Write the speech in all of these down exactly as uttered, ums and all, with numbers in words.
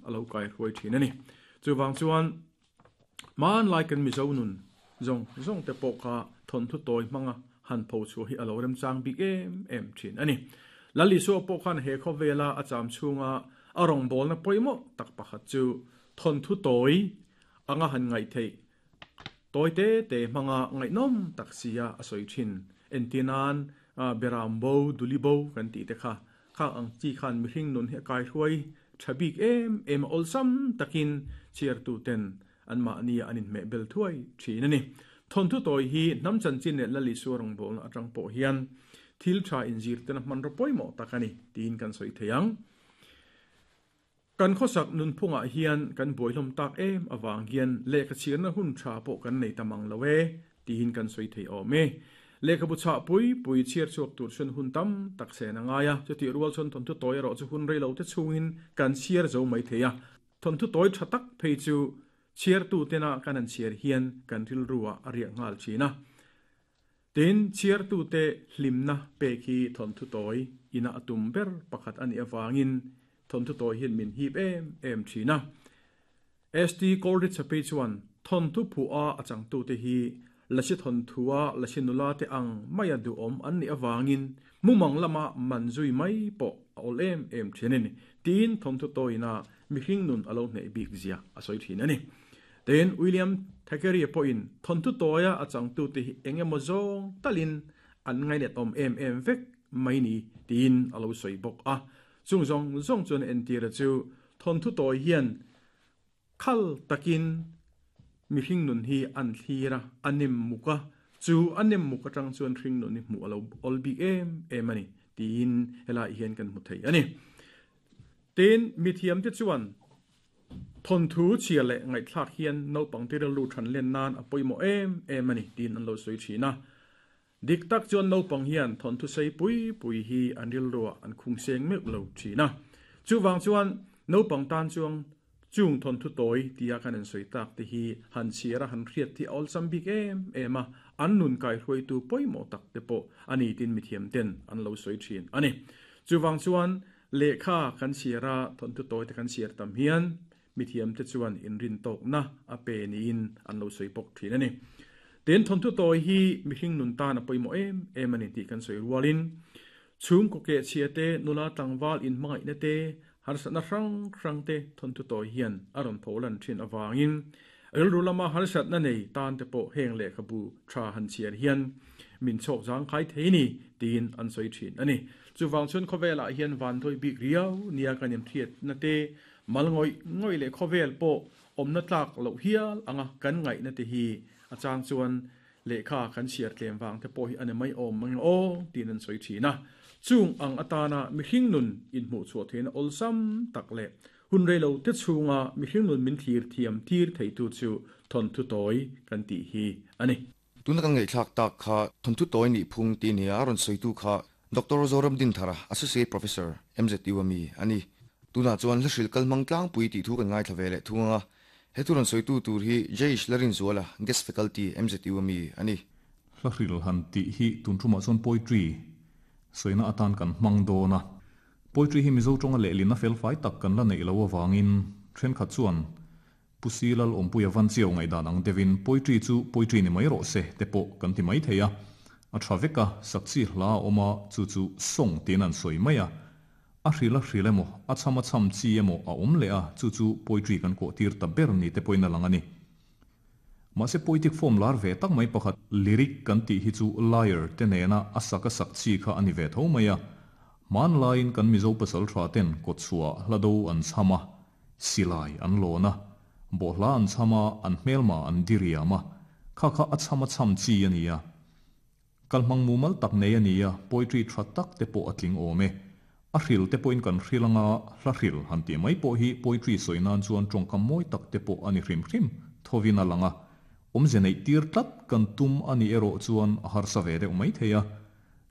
alo kai hruai thin ani chuwang chuan man lai kan mi zo nun zong zong te pawh kha thon thu toi manga han pho chu hi alo rem chang bik em em thin ani lali so pawh khan he kho vela a cham chunga arong bol na poimo tak pakhat chu thon thu toi anga han ngai thei toi te te manga ngai nom tak sia a soi thin entinan beram bo duli bo kan ti te kha kha ang chi khan mi hring nun he kai hruai thabik em em olsam takin chiar tu ten an ma ni anin me bel thuai thin ani thon thu toi hi nam chan chin le lali surang bol na atang po hian thil tha in zir ten man ro poimo takani tin kan soi theyang kan khosak nun phunga hian kan boilom tak em awang hian le ka chirna hun tha po kan nei tamang lowe tin kan soi thei ome le ka bu cha pui pui chiar chuak tur chun hun tam tak se na nga ya chu ti rual chun thon thu toy ro chu hun rei lo te chungin kan chiar zo mai theya thon thu toy tha tak phei chu chiar tu tena kan an chiar hian kan thil ruwa aria ngal china tin chiar tu te hlimna pe khi thon thu toy ina atum ber pakhat ani awangin thon thu toy hian min hip em em thina st coldit chape chuan thon thu phu a achang tu te hi lachi thon thuwa lachi nula te ang maya du om an ni awangin mumang lama manzui mai po ol em em thinin tin thon thu toina mi hring nun alo nei bik zia a soi thin ani ten William Thackeray po in thon thu toya achang tu te hi engemaw zawng talin an ngai net om em em vek mai ni tin alo soi bok a chung zong zong chun en tira chu thon thu toy hian khal takin mi hring nun hi an thlira anim muka chu anim muka tang chuan hring nun ni mu alo ol bik em em ani tin hela hian kan mu thei ani tin mi thiam te chuan thon thu chia le ngai thlak hian no pang te lu than len nan a poimo em em ani tin an lo soi thina dik tak chuan no pang hian thon thu sei pui pui hi an ril ro an khung seng mek lo thina chu wang chuan no pang tan chuang chung thon thu toi tia kan an soi tak te hi han chira han hriat thi ol sam bik em ema an nun kai hroi tu poimo tak te po ani tin mi thiam ten an lo soi thin ani chu wang chuan lekha kan chira thon thu toi te kan chir tam hian mi thiam te chuan in rin tok na a pe ni in an lo soi pok thin ani ten thon thu toi hi mi hring nun ta na poimo em em ani ti kan soi rualin chung ko ke chia te nula tlangwal in mangai na te har sa na rang rang te thon thu toi hian aron pholan thin awangin el rulama har sat na nei tan te po heng le khabu tha han chiar hian min chok jang khai theini tin an soi thin ani chuwang chun khowela hian van thoi bik riau nia kanim thiat na te malngoi ngoi le khovel po omna tlak lo hial anga kan ngai na te hi achang chuan lekha kan chiar tlem wang te po hi ani mai om mang o tin an soi thina chung ang atana mi hring nun in hmu chu thein olsam tak le hun relo te chunga mi hring nun min thir thiam thir thei tu chu thon thu toi kan ti hi ani tuna kan ngai thlak tak kha thon thu toi ni phung ti ni a ron soi tu kha Doctor Zoram Din Thara Associate Professor M Z U ami ani tuna chuan hlhril kalmang tlang pui ti thu kan ngai thlavele thunga he tu ron soi tu tur hi Jaish Larin Zuala guest faculty M Z U ami ani hlhril han ti hi tun thuma chon poetry soina atan kan mang do na poetry hi mizo tonga le lina fel fai tak kan la nei lo awangin then kha chuan pusilal ompuya van chiao ngai dan ang devin poetry chu poetry ni mai ro se te po kan ti mai theia a thaveka sakchi hla oma chu chu song tin an soi maya a hrila hrilemo a chama cham chi emo a om le a chu chu poetry kan ko tir ta ber ni te poina langani ma se poetic form lar ve tak mai pakhat lyric kan ti hi chu liar te ne na asaka sak chi kha ani ve tho maya man line kan mizo pasal tha ten ko chua hlado an chama silai an lona bohla an chama an hmelma an diriama kha kha achama cham chi ania kalmang mumal tak nei ania poetry tha tak te po atling ome a hril te po in kan hrilanga hla hril han ti mai po hi poetry soinan chuan tongkam moi tak te po ani hrim hrim thovina langa omze nei tir tlat kan tum ani ero chuan a har sa ve deuh mai theia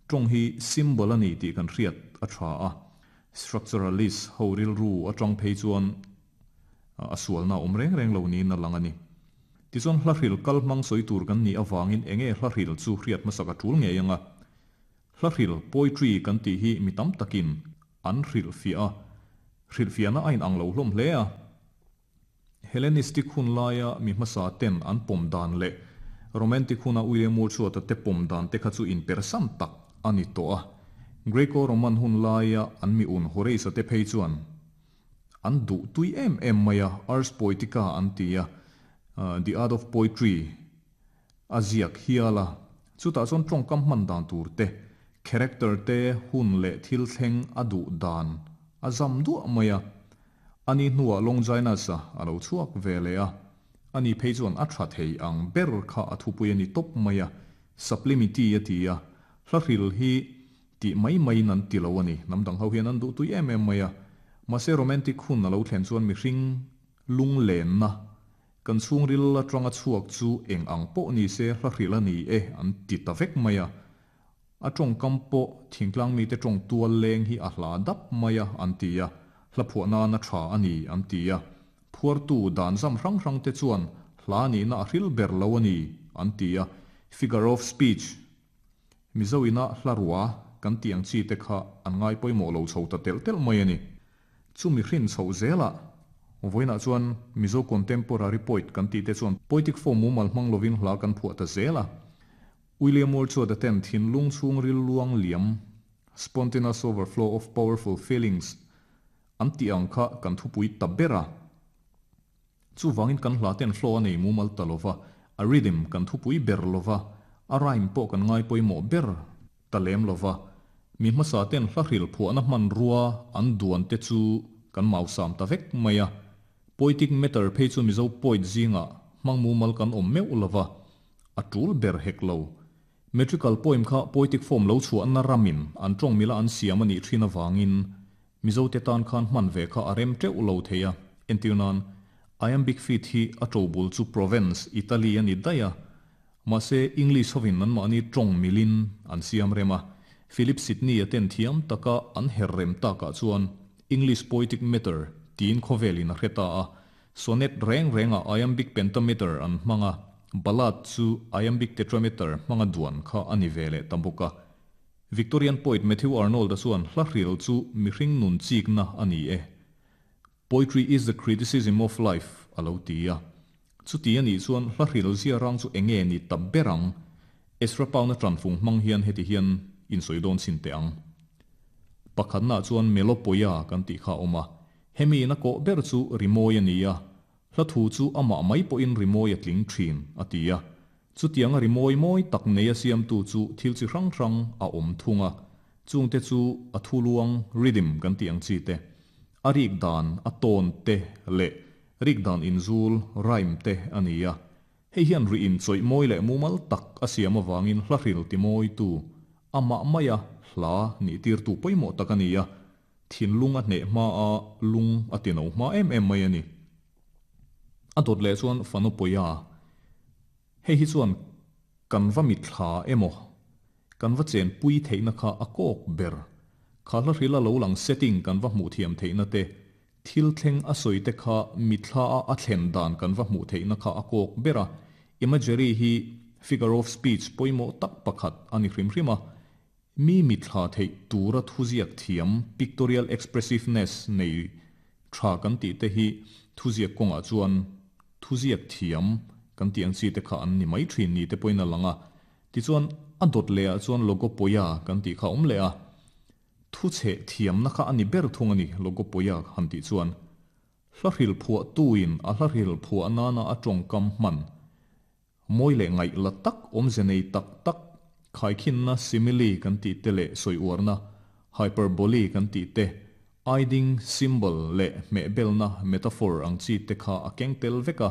tong hi symbol ani ti kan hriat a tha a structuralist ho ril ru atang phei chuan a sualna om reng reng lo ni na langani ti chuan hla hril kal mang soi tur kan ni awangin enge hla hril chu hriat masaka tul nge anga hla hril poetry kan ti hi mitam takin an hril fia hril fia na ain ang lo hlom hle a Hellenistic hun laia mi hmasa ten an pawm dan leh Romantic huna William Wordsworth-a te pawm dan te kha chu inpersan tak a ni tawh a. Greco-Roman hun laia an mi un Horace-a te phei chuan an duh tui em em mai a, Ars Poetica an ti a, The Art of Poetry a ziak hial a. Chutah chuan tawngkam hman dan tur te, character te, hun leh thil thleng a duh dan a zam duah mai a. Ani hnuah Longinus-a a lo chhuak ve leh a, ani phei chuan a tha thei ang ber kha a thupui a ni tawp mai a, Sublimity a ti a, hla hril hi tih mai maiin an ti lo a ni, hnam dang ho hian an duh tui em em mai a. Mahse romantic hun a lo thlen chuan mihring lunglenna kan chhungril atanga chhuak chu eng ang pawh ni se hla hril a ni e an ti ta vek mai a, a tawngkam pawh thingtlang mite tawng tual leng hi a hla dap mai a an ti a, hla phuah nana tha a ni an ti a, phuartu dan zam hrang hrang te chuan hla nihna a hril ber lo a ni an ti a, figure of speech Mizo ina hla rua kan tih ang chi te kha an ngai pawimawh lo chho ta telh telh mai a ni. Chumi hrin chhoh zelah vawiinah chuan Mizo contemporary poet kan tih te chuan poetic form mumal hmang lovin hla kan phuah ta zel a. William Wordsworth-a ten thinlung chhungril luang liam, spontaneous overflow of powerful feelings, an tih ang kha kan thupui ta ber a. Chuvangin kan hla ten flow a nei mumal ta lova, a rhythm kan thupui ber lova, a rhyme pawh kan ngai pawimawh ber ta lem lova. Mi hmasa ten hla hril phuahna hmanrua an duan te chu kan mausam ta vek mai a. Poetic meter phei chu Mizo poet zingah hmang mumal kan awm meuh lova, a tul ber hek lo. Metrical poem kha poetic form lo chhuahna ramin an tawng mila an siam a nih thin avangin Mizo te tan khan hman ve kha a rem teuh lo thei a. Entir nan, iambic feet hi a tobul chu Provence, Italy a ni daih a. Mahse English hovin anmahni tawng milin an siam rem a. Philip Sidney-a ten thiam taka an her rem takah chuan English poetic meter tiin khawvelin a hre ta a. Sonnet reng rengah iambic pentameter an hmang a, ballad chu iambic tetrameter hmanga duan kha a ni ve leh ta bawk a. Victorian poet Matthew Arnold-a chuan hla hril chu mihring nun chikna a ni e. Poetry is the criticism of life a lo ti a. Chuti a nih chuan hla hril zia rang chu eng nge ni ta ber ang? Ezra Pound-a tanfung hmang hian heti hian insawi dawn chhin teh ang. Pakhatnaah chuan Melopoia kan tih kha a awm a. Hemi ina kawh ber chu rimawi a ni a, hla thu chu amah mai pawhin rimawi a tling thin, a ti a. Chutianga rimawi mawi tak nei a siamtu chu thil chi hrang hrang a awm thung a, chungte chu a thu luang, rhythm, kan tih ang chi te, a rik dan, a tawn te leh rik dan inzul, rhyme, te a ni a. Hei hian ri inchawih mawi leh mumal tak a siam avangin hla hril ti mawitu, amah maia hla nih tirtu pawimawh tak a ni a, thinlung a hneh hma a, lung a ti no hma em em mai a ni. A dawt leh chuan fanu pawia, hei hi chuan kan va mitthla emaw, kan va chenpui theihna kha a kawk ber. Kha hla hrila lo lang setting kan va hmuh thiam theihna te, thil thleng a sawi te kha mitthla a a thlen dan kan va hmuh theihna kha a kawk ber a. Imagery hi figure of speech pawimawh tak pakhat a ni hrim hrim a. Mi mitthla theih tura thuziak thiam, pictorial expressiveness, nei tha kan tih te hi thuziak kawngah chuan thuziak thiam kan tih ang chi te kha an ni mai thin ni te pawhin a lang a. Tichuan a dawt leh ah chuan logopoia kan tih kha a awm leh a. Thuchheh thiamna kha a ni ber thung a ni logopoia han tih chuan. Hla hril phuah tuin a hla hril phuah nana a tawngkam hman mawi leh ngaih la tak awmze nei tak tak khaikhinna simile kan tih te leh sawi uarna hyperbole kan tih te, aiding symbol leh hmehbelna metaphor ang chi te kha a keng tel vek a.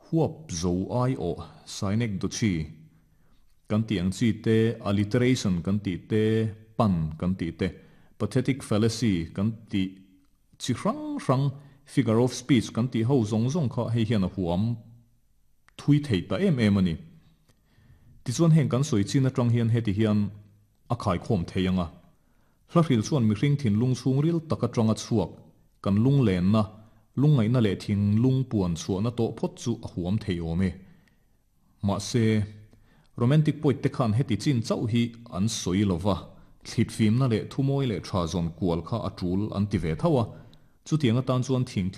Huap zo ai awh synecdoche kan tih ang chi te, alliteration kan tih te, pun kan tih te, pathetic fallacy kan tih chi hrang hrang, figure of speech kan tih ho zawng zawng kha hei hian a huam thui thei ta em em a ni. Tichuan heng kan sawi chin atang hian heti hian a khaikhawm thei ang a. Hla hril chuan mihring thinlung chhungril tak atanga chhuak kan lunglenna, lungngaihna leh thinlung puan chhuahna tawh phawt chu a huam thei awm e. Mahse, romantic poet te khan heti chin chauh hi an sawi lova, thlitfimna leh thumawi leh tha zawn kual kha a tul an ti ve tho a. Chutiang atan chuan thingtlang